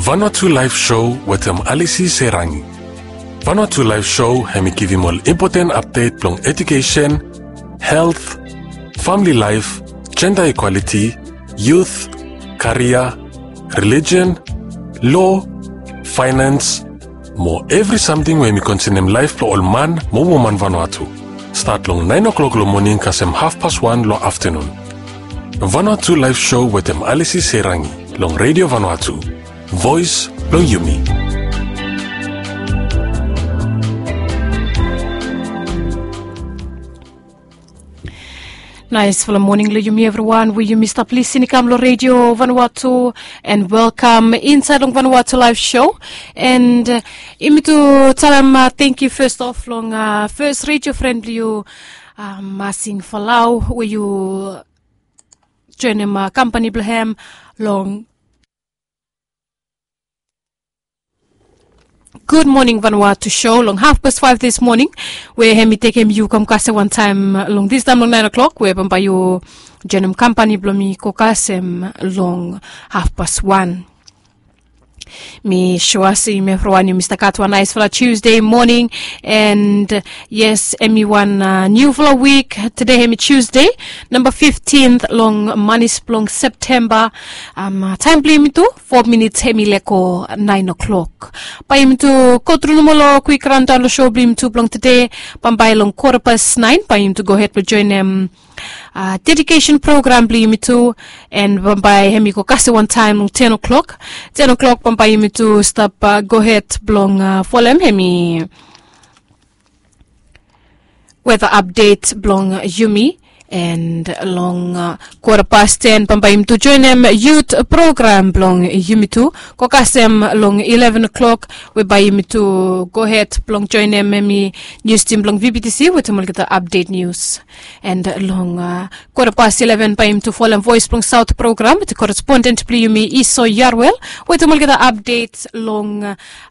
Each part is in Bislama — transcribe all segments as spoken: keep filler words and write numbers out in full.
Vanuatu Live Show wetem Alisi Serangi. Vanuatu Live Show hemi givim ol impoten apdet blong edukesen, helt, famili laef, jenda ikwaliti, yut, karia, relijion, lo, faenans, mo evri samting we hemi konsenem laef blong ol man mo woman Vanuatu. Stat long naen o'klok long moning kasem hafpas wan long aftanun. Vanuatu Live Show wetem Alisi Serangi long Redio Vanuatu, voes blong yumi. Naesfala moning long yumi evriwan we yumi stap lisin i kam long Redio Vanuatu, and welkam insaed long Vanuatu Live Show. And yumi tu talem tangkiu fes of long fes redio fren blong yu, Masing Falau, we yu joenem kampani blong hem long Gud Moning Vanuatu show long hafpas faef dis moning, we hemi tekem yu kam kasem wantaem long distaem long naen o'klok, we bambae yu joenem kampani blong mi go kasem long hafpas wan. Mi sua se yumi evriwan yumi stap gat wan naesfala Tuesday moning, and yes, hemi wan niufala wik. Tede hemi Tuesday, namba fiftint long manis blong Septemba. Taem blong yumi tu fo minits hemi lego naen o'klok. Bae yumi tu gotru nomo long kwik raondaon long show blong yumi tu blong tede. Bambae long kwata pas naen bae yumi tu gohed blong joenem dedikesen program blong yumi tu, and bambae hemi go kasem wantaem long ten o'klok. Ten o'klok bambae yumi tu stap gohed blong folem hemi weta apdet blong yumi, and long kwata pas ten bambae yumi tu joenem yut program blong yumi tu go kasem long ileven o'klok, we bae yumi tu gohed blong joenem hemi nius tim blong VBTC wetem olgeta apdet nius. And long kwata pas ileven bae yumi tu folem Voes blong Saot program wetem koresponden blong yumi Iso Yarwel, wetem olgeta apdet long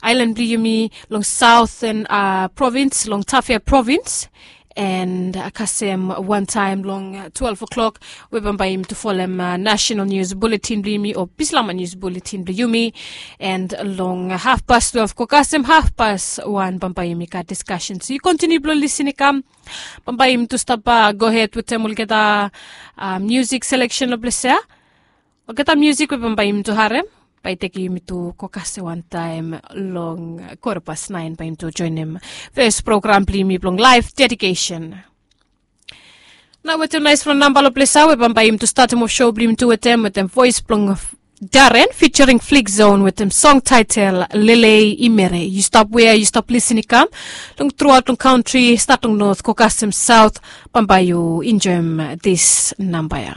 aelan blong yumi long Saoten provins, long Tafea provins. And kasem wantaem long twelve o'klok, we bambae yumi tu folem nasenal nius buletin blong yumi o Bislama nius buletin blong yumi. And long hafpas twelve go kasem hafpas wan bambae yumi gat diskasen. So yu kontiniu blong lisin i kam. Bambae yumi tu stap gohed wetem olgeta miusik seleksen long ples ya. Olgeta miusik we bambae yumi tu harem bae i tekem yumi tu go kasem wantaem long kwata pas naen bae yumi tu joenem fes program blong yumi blong laef dedikesen. Nao wetem naesfala namba long ples ya we bambae yumi tu statem of show blong yumi tu wetem, wetem voes blong Darren featuring Flick Zone wetem song taetel Lelei i Mere. Yu stap wea yu stap lisin i kam long truaot long kantri, stat long not go kasem saot, bambae yu enjoem dis namba ya.